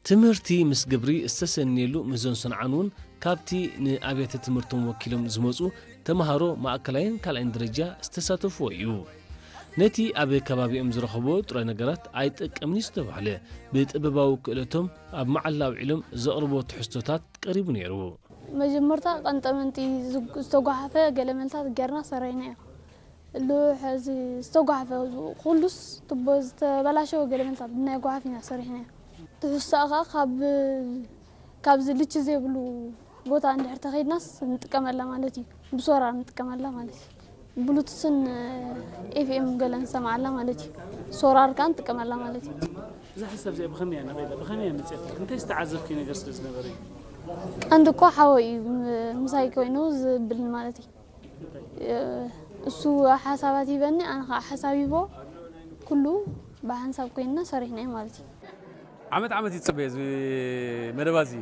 ትምህርቲ ምስ ግብሪ ዝተሰነየሉ ምህዞን ሰንዓን እውን ካብቲ ንኣብያተ ትምህርቶም ወኪሎም ዝመጹ ተምሃሮ ማእከላይን ካልኣይን ደረጃ ዝተሳተፍዎ እዩ። ነቲ ኣብ ከባቢኦም ዝረኸብዎ ጥረ ነገራት ኣይጠቅምን እዩ ዝተባህለ፣ ብጥበባዊ ክእለቶም ኣብ መዓላ ኣውዒሎም ዘቕርብዎ ትሕዝቶታት ቀሪቡ ነይሩ። መጀመርታ ቀንጠመንጢ ዝግ-፣ ዝተጓሓፈ ገለመልታት ጌርና ሰሪሕናዮ። ልውሕ እዚ ዝተጓሓፈ ኩሉስ ትቦ ዝተበላሸወ ገለመልታት ብናይ ጓሓፍ ኢና ሰሪሕናዮ። ትሕዝቶኣ ኸዓ ካብ፣ ካብዚ ልቺ ዘይብሉ ቦታ እንድሕር ተኸይድናስ ንጥቀመላ ማለት እዩ። ብሶላር ንጥቀመላ ማለት እዩ። ብሉቱስን ኤፍኤም ገለ ንሰምዓላ ማለት እዩ። ሶላር ከኣ ንጥቀመላ ማለት እዩ። እዛ ሓሳብ እዚኣ ብኸመይ እያ ነቒላ? ብኸመይ እያ መፅያትልኪ? እንታይ ዝተዓዘብኪ ነገር ስለ ዝነበረ እዩ? ቀንዲ እኮ ሓወይ እዩ ም-፣ ምሳይ ኮይኑ ዝብልን ማለት እዩ። እሱ ሓሳባት ይበኒ፣ ኣነ ከዓ ሓሳብ ይቦ፣ ኩሉ ብሓንሳብ ኮይንና ሰሪሕናዮ ማለት እዩ። ዓመት ዓመት ይፅበ እዚ መደባ እዚ፣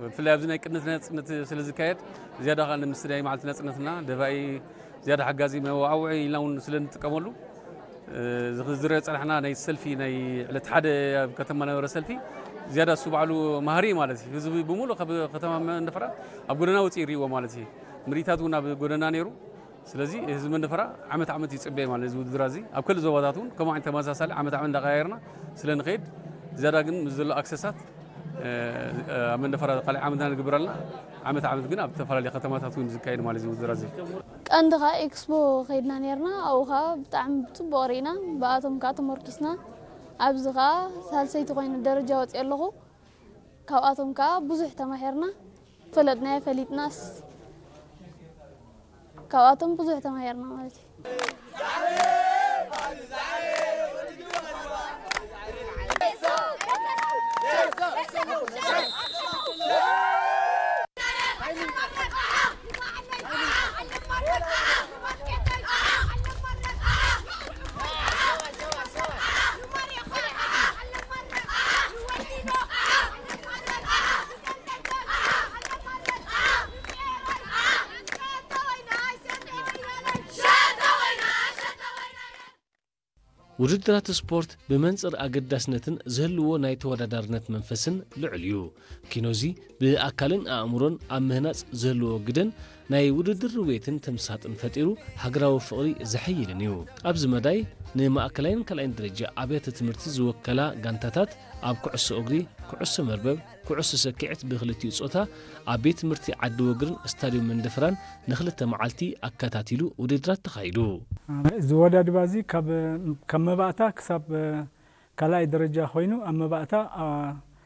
ብፍላይ ኣብዚ ናይ ቅድመት ናፅነት ስለ ዝካየድ ዝያዳ ከዓ ንምስዳይ መዓልቲ ናፅነትና ደፋኢ ዝያዳ ሓጋዚ መዋዓውዒ ኢልና እውን ስለ እንጥቀመሉ፣ እዚ ዝረአ ፀናሕና ናይ ሰልፊ ናይ ዕለት ሓደ ኣብ ከተማ ነበረ ሰልፊ ዝያዳ እሱ ባዕሉ ማህሪ ማለት እዩ። ህዝቢ ብምሉእ ካብ ከተማ መንደፈራ ኣብ ጎደና ወፂኡ ይሪእዎ ማለት እዩ። ምርኢታት እውን ኣብ ጎደና ነይሩ። ስለዚ ህዝቢ መንደፈራ ዓመት ዓመት ይፅበየ ማለት እዚ ውድድር እዚ ኣብ ከልእ ዞባታት እውን ከምኡ ዓይነት ተመሳሳሊ ዓመት ዓመት እንዳቀያየርና ስለ ንኸይድ ዝያዳ ግን ምስ ዘሎ ኣክሰሳት ኣብ መንደፈራ ካልእ ዓመትና ንግብር ኣለና። ዓመት ዓመት ግን ኣብ ዝተፈላለዩ ከተማታት እውን ዝካየድ ማለት እዚ ውድድር እዚ። ቀንዲ ኸዓ ኤክስፖ ከይድና ነርና ኣብኡ ኸዓ ብጣዕሚ ብፅቡቕ ርኢና ብኣቶም ከዓ ተመርኪስና ኣብዚ ኸዓ ሳልሰይቲ ኮይነ ደረጃ ወፅየ ኣለኹ። ካብኣቶም ከዓ ብዙሕ ተማሂርና ፈለጥናዮ ፈሊጥናስ ካብኣቶም ብዙሕ ተማሂርና ማለት እዩ። ውድድራት ስፖርት ብመንፅር ኣገዳስነትን ዝህልዎ ናይ ተወዳዳርነት መንፈስን ልዑል እዩ። ኪኖዚ ብኣካልን ኣእምሮን ኣብ ምህናፅ ዝህልዎ ግደን ናይ ውድድር ርውየትን ተምሳጥን ፈጢሩ ሃገራዊ ፍቕሪ ዘሐይልን እዩ። ኣብዚ መዳይ ንማእከላይን ካልኣይን ደረጃ ኣብያተ ትምህርቲ ዝወከላ ጋንታታት ኣብ ኩዕሶ እግሪ፣ ኩዕሶ መርበብ፣ ኩዕሶ ሰኪዕት ብክልቲኡ ጾታ ኣብ ቤት ትምህርቲ ዓዲ ወግርን ስታድዮም መንደፍራን ንክልተ መዓልቲ ኣከታቲሉ ውድድራት ተኻይዱ። ዝወዳድባ እዚ ካብ ካብ መባእታ ክሳብ ካልኣይ ደረጃ ኮይኑ ኣብ መባእታ